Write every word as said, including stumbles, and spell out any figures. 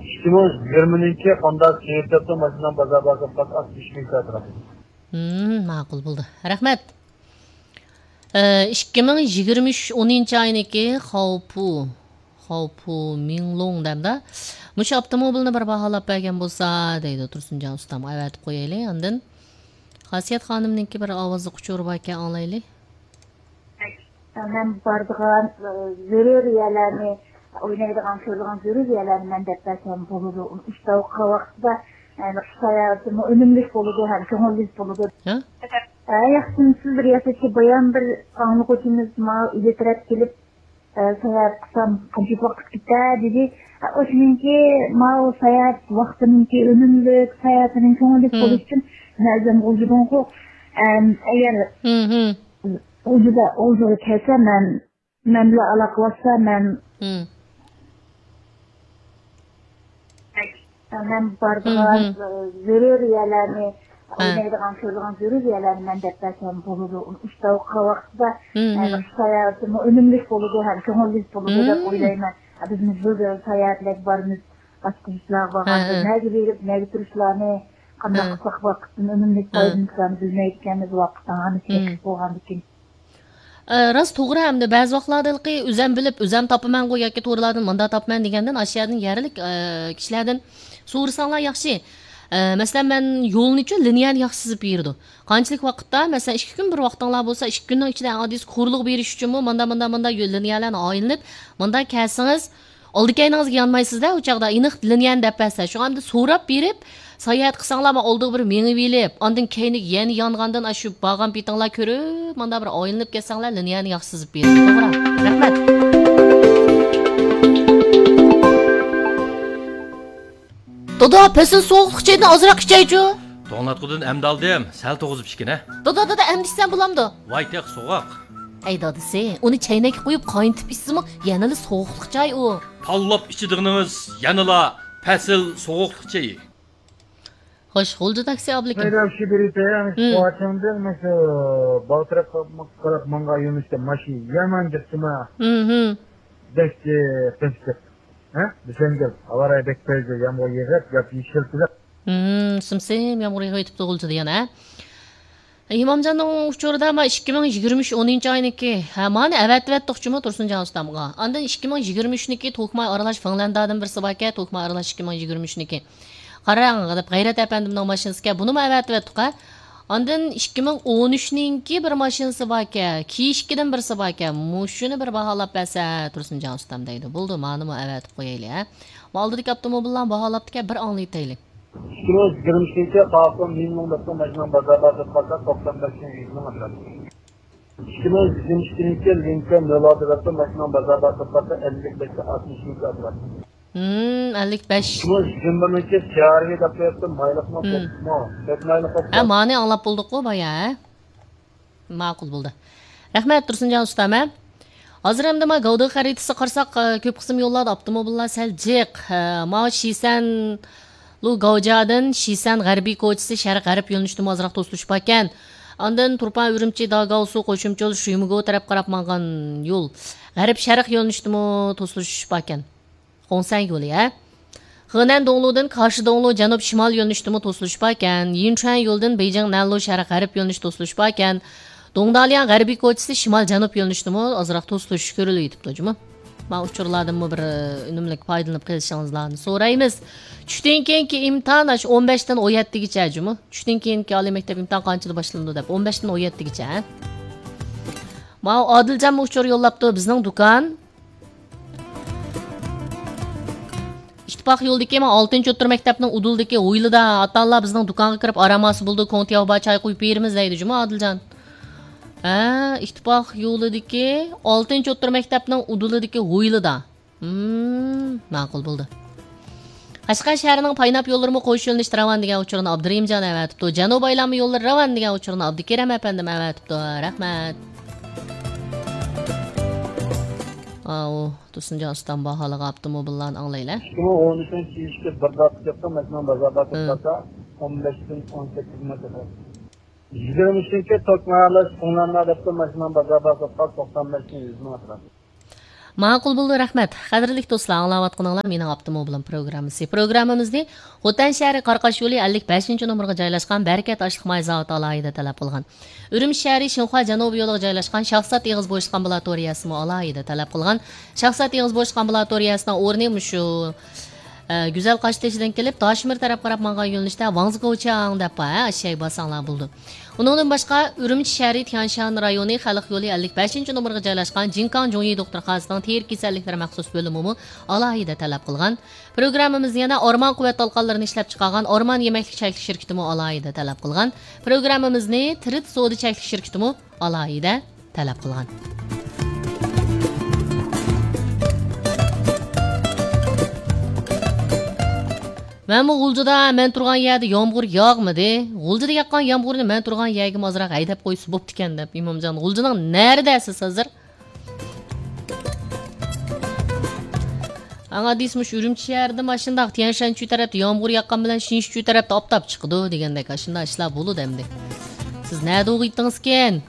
ئىككى مىڭ يىگىرمىنىڭكى خوندا سېيىت دەپتۇ ماشىنام بازار بار دەپ ئاتمىش مىڭ كاتىراتى. ھىم، ماقۇل بولدى. رەھمەت. ئە، ئىككى مىڭ يىگىرمە ئۈچ ئونىنچى ئاينىڭكى خاۋپۇ، خاۋپۇ مىڭلۇڭ دەمدە. مۇشۇ ئاپتوموبىلنى بىر باھالاپ بەرگەن بولسا، دەيدۇ تۇرسۇنجان ئۇستام. ئەۋەتىپ قويايلى. ئاندىن خاسىيەت خانىمنىڭكى بىر ئاۋازلىق ئۇچۇرى باركەن، ئاڭلايلى. مەن بارىدىغان، ئە، زۆرۈر يەرلەرنى، ئوينايدىغان، كۆرىدىغان زۆرۈر يەرلەرنى مەن دەپ بەرسەم بولىدۇ. ئۇنى ئىشتە ئوقۇغان ۋاقتىدا، يەنى قىش ساياھىتىمۇ ئۈنۈملۈك بولىدۇ ھەم كۆڭۈللۈك بولىدۇ. ھە؟ ھە، ياخشىمۇسىز بىر ياسىچى بايان بىر ئاڭلىغۇچىمىز ماڭا ئۆيگە تەرەپ كېلىپ، ئە، ساياھەت قىلسام قانچىلىك ۋاقىت كېتەر دېدى. ئە، ئۇ شۇنىڭكى ماۋۇ ساياھەت ۋاقتىنىڭكى ئۈنۈملۈك، ساياھىتىنىڭ كۆڭۈللۈك بولۇشى ئۈچۈن مەن ئۆزۈم غۇلجىدىنغۇ، ئەم، ئەگەر غۇلجىدا، غۇلجىغا كەلسە مەن مەن بىلەن ئالاقىلەشسە، مەن، مەن بارىدىغان، ئە، زۆرۈر يەرلەرنى، ئوينايدىغان، كۆرىدىغان زۆرۈر يەرلەرنى مەن دەپ بەرسەم بولىدۇ. ئۇنى ئىشتە ئوقۇغان ۋاقتىدا، ئە، ساياھىتىمۇ ئۈنۈملۈك بولىدۇ ھەم كۆڭۈللۈك بولىدۇ دەپ ئويلايمەن. ئە، بىز مۇشۇ ساياھەتلەرگە بارىمىز، باشقا ئىشلارغا بارغاندا نەگە بېرىپ، نەگە تۇرۇشلارنى، قانداق قىلساق ۋاقىتتىن ئۈنۈملۈك پايدىلىنىشلارنى بىلمەيدىكەنمىز، ۋاقىتنىڭ ھەممىسى چەكلىك بولغاندىكىن. ئە، راست، توغرا. ئەمدى بەزى ۋاقىتلاردا ھېلىقى ئۆزەم بىلىپ، ئۆزەم تاپىمەنغۇ ياكى تورلاردىن مۇنداق تاپىمەن دېگەندىن، ئاشۇ يەردىن يەرلىك، ئە، كىشىلەردىن سورىساڭلار ياخشى. ئە، مەسىلەن، مەن يولنىچۇ لىنىيەنى ياخشى سىزىپ بېرىدۇ. قانچىلىك ۋاقىتتا، مەسىلەن، ئىككى كۈن بىر ۋاقتىڭلار بولسا، ئىككى كۈننىڭ ئىچىدە ئەڭ ئاددىيسى قۇرۇلغا بېرىش ئۈچۈنمۇ ماندا، ماندا، ماندا يۆ-، لىنىيەلەرنى ئايلىنىپ، ماندا كەلسىڭىز، ئالدى كەينىڭىزگە يانمايسىز-دە، ئۇ چاغدا ئېنىق لىنىيەنى دەپ بەرسە. شۇڭا ئەمدى سوراپ بېرىپ، ساياھەت قىلساڭلار، مانا ئالدىغا بىر مېڭىۋېلىپ، ئاندىن كەينىگە يەنە يانغاندىن، ئاشۇ بارغان پېتىڭلار كۆرۈپ، ماندا بىر ئايلىنىپ كەتسەڭلار، لىنىيەنى ياخشى سىزىپ بېرىدۇ. توغرا. رەھمەت. دادا، پەسىل سوغۇقلۇق چايدىن ئازراق ئىچەيچۇ. توڭلاتقۇدىن ئەمدى ئالدىم، سەل توغۇزۇپ ئىچكىنە. دادا، دادا، ئەمدى ئىچسەم بولامدۇ؟ ۋاي تېخى سوغۇق. ئەي دادىسى، ئۇنى چەينەككە قۇيۇپ قاينىتىپ ئىچسىمۇ يەنىلا سوغۇقلۇق چاي ئۇ. تاللاپ ئىچىدىغىنىڭىز يەنىلا پەسىل سوغۇقلۇق چېيى. خوش، غۇلجا تاكسى ئابلىكىم. ھەيدەپ شۇ بېرىپ بېرىڭ، مۇشۇ قوۋاچىڭدىن مۇشۇ بالتىرەك قاپماققا قاراپ ماڭغان يۆنىلىشتە ماشىنا يامان جىقتىما. ھىم. بەك قىزىق. ھە؟ دېسەڭگە، ھاۋاراي بەك پەيزى، يامغۇر يېغىپ، ياپيېشىل كېلىپ. ھىم، سىم-سىم يامغۇر يېغىۋېتىپتۇ غۇلجىدا يەنە، ھە؟ ئىمامجاننىڭ ئۇچۇرىدا ما ئىككى مىڭ يىگىرمە ئۈچ ئونىنچى ئاينىكى، ھە، مانى ئەۋەتىۋەتتۇقچىمۇ تۇرسۇنجان ئۇستامغا. ئاندىن ئىككى مىڭ يىگىرمە ئۈچنىكى توكماي ئارىلاش فىنلاندىيەدىن بىرسى باركەن، توكماي ئارىلاش ئىككى مىڭ يىگىرمە ئۈچنىكى. قاراڭ، دەپ غەيرەت ئەپەندىمنىڭ ماشىنىسىكەن، بۇنىمۇ ئەۋەتىۋەتتۇق-ھە. ئاندىن ئىككى مىڭ ئون ئۈچنىڭكى بىر ماشىنىسى باركەن، كىيىشكىدىن بىرسى باركەن، مۇشۇنى بىر باھالاپ بەرسە تۇرسۇنجان ئۇستام دەيدۇ. بولدى، مانىمۇ ئەۋەتىپ قويايلى، ھە. ما ئالدىدىكى ئاپتوموبىللارنىڭ باھالاپتىكەن، بىر ئاڭلىتايلى. ئىككى مىڭ يىگىرمە ئۈچىنچى قاقىم مىڭ مىڭ دەپتۇ ماشىنام بازار بار دەپ قالسا، توقسان بەش مىڭ يۈز مىڭ ئەتراپى. ئىككى مىڭ يىگىرمە ئىككىنچى يىل لىنكولن نۆل ئالتە دەپتۇ ماشىنام بازار بار دەپ قالسا، ئەللىك بەشتە ئاتمىش مىڭ ئەتراپى. ھىم، ئەللىك بەش. ئىككى مىڭ يىگىرمە بىرىنچى سي ئار ۋى دەپ قويۇپتۇ، مايلىقمۇ، ھىم. كۆپمۇ، كۆپ مايلىق بولۇپتۇ. ھە، مانى ئاڭلاپ بولدۇققۇ بايا، ھە؟ ماقۇل بولدى. رەھمەت، تۇرسۇنجان ئۇستام، ھە؟ ھازىر ئەمدى ما گەۋدە خەرىتىسىگە قارىساق، ئە، كۆپ قىسىم يوللاردا ئاپتوموبىللار سەل جىق. ئە، ما شىسەن لۇ گاۋجادىن شىسەن غەربىي كوچىسى شەرق غەرب يۆنىلىشتىمۇ ئازراق توسۇلۇش باركەن. ئاندىن تۇرپان ئۈرۈمچى داگاۋسۇ قوشۇمچە يول شۈيمىگو تەرەپ قاراپ ماڭغان يول غەرب شەرق يۆنىلىشتىمۇ توسۇلۇش باركەن. خۇڭسەن يولى، ھە؟ خېنەن دوڭلۇدىن كاشى دوڭلۇ جەنۇب شىمال يۆنىلىشتىمۇ توسۇلۇش باركەن. يىنچۈەن يولىدىن بېيجىڭ نەنلۇ شەرق غەرب يۆنىلىش توسۇلۇش باركەن. دۇڭدالياڭ غەربىي كوچىسى شىمال جەنۇب يۆنىلىشتىمۇ ئازراق توسۇلۇش كۆرۈلۈۋېتىپتۇ جۇمۇ. ما ئۇچۇرلاردىنمۇ بىر، ئە، ئۈنۈملۈك پايدىلىنىپ قېلىشىڭىزلارنى سورايمىز. چۈشتىن كېيىنكى ئىمتىھان ئاشۇ ئون بەشتىن ئون يەتتىگىچە جۇمۇ. چۈشتىن كېيىنكى ئالىي مەكتەپ ئىمتىھان قانچىدا باشلىنىدۇ دەپ، ئون بەشتىن ئون يەتتىگىچە، ھە؟ ماۋۇ ئادىلجانمۇ ئۇچۇر يوللاپتۇ، بىزنىڭ دۇكان. ئىتتىپاق يولىدىكى، مانا، ئالتىنچى ئوتتۇرا مەكتەپنىڭ ئۇدۇلىدىكى ھويلىدا، ئاتا-ئانىلار بىزنىڭ دۇكانغا كىرىپ ئارام ئالسا بولىدۇ، كوڭ تياۋبا چاي قۇيۇپ بېرىمىز دەيدۇ جۇمۇ ئادىلجان. ھە، ئىتتىپاق يولىدىكى ئالتىنچى ئوتتۇرا مەكتەپنىڭ ئۇدۇلىدىكى ھويلىدا. ھىم، ماقۇل بولدى. قەشقەر شەھىرىنىڭ پايناپ يوللىرىمۇ قوش يۆنىلىشتە راۋان دېگەن ئۇچۇرنى ئابدۇرېھىمجان ئەۋەتىپتۇ. جەنۇبىي ئايلانما يوللىرى راۋان دېگەن ئۇچۇرنى ئابدۇكېرەم ئەپەندىم ئەۋەتىپتۇ. رەھمەت. ئاۋۇ، تۇرسۇنجان ئۇستام باھالىغان ئاپتوموبىللارنى ئاڭلايلى. ئىككى مىڭ ئون ئۈچىنچى يىلقى بىر داقىقە ماشىنىنىڭ بازاردا توختىسا، ئون بەشتىن ئون سەككىز مىڭ ئەتراپى. يىگىرمە ئۈچىنچى توكماي ئارىلاش پىڭلاندا دەپتۇ ماشىنىنىڭ بازاردا توختىسا، توقسان بەشتىن يۈز مىڭ ئەتراپى. ماقۇل بولدى، رەھمەت. قەدىرلىك دوستلار، ئاڭلاۋاتقىنىڭلار مېنىڭ ئاپتوموبىلىم پروگراممىسى. پروگراممىمىزنى خوتەن شەھىرى قاراقاش يولى ئەللىك بەشىنچى نومۇرغا جايلاشقان بەرىكەت ئاشلىق ماي زاۋۇتى ئالاھىدە تەلەپ قىلغان. ئۈرۈمچى شەھىرى شىنخۇا جەنۇبىي يولىغا جايلاشقان شاخسات ئېغىز بوشلۇق ئامبۇلاتورىيەسىمۇ ئالاھىدە تەلەپ قىلغان. شاخسات ئېغىز بوشلۇق ئامبۇلاتورىيەسىنىڭ ئورنى مۇشۇ، ئە، گۈزەل قاشتېشىدىن كېلىپ، داشمىر تەرەپ قاراپ ماڭغان يۆنىلىشتە ۋاڭزىگوچياڭ دەپ بار، ھە، ئاشۇ يەرگە بارساڭلار بولىدۇ. ئۇنىڭدىن باشقا، ئۈرۈمچى شەھىرى تيەنشان رايونى خەلق يولى ئەللىك بەشىنچى نومۇرغا جايلاشقان جىنكاڭ جۇڭيى دوختۇرخانىسىنىڭ تېرە كېسەللىكلىرى مەخسۇس بۆلۈمىمۇ ئالاھىدە تەلەپ قىلغان. پروگراممىمىزنى يەنە ئورمان قۇۋۋەت تالقانلىرىنى ئىشلەپچىقارغان ئورمان يېمەكلىك چەكلىك شىركىتىمۇ ئالاھىدە تەلەپ قىلغان. پروگراممىمىزنى تىرىت سودا چەكلىك شىركىتىمۇ ئالاھىدە تەلەپ قىلغان. مەنمۇ غۇلجىدا مەن تۇرغان يەردە يامغۇر ياغمىدى. غۇلجىدا ياغقان يامغۇرنى مەن تۇرغان يەرگىمۇ ئازراق ھەيدەپ قويسا بوپتىكەن دەپ، ئىمامجان، غۇلجىنىڭ نەرىدە سىز ھازىر؟ ئاڭا دېسە، مۇشۇ ئۈرۈمچى شەھىرىدىمۇ ئاشۇنداق تيەنشەنچۈ تەرەپتە يامغۇر ياغقان بىلەن شىنشىچۈ تەرەپتە ئاپتاپ چىقىدۇ دېگەندەك ئاشۇنداق ئىشلار بولىدۇ ئەمدى. سىز نەدە ئوقۇيتتىڭىزكىن؟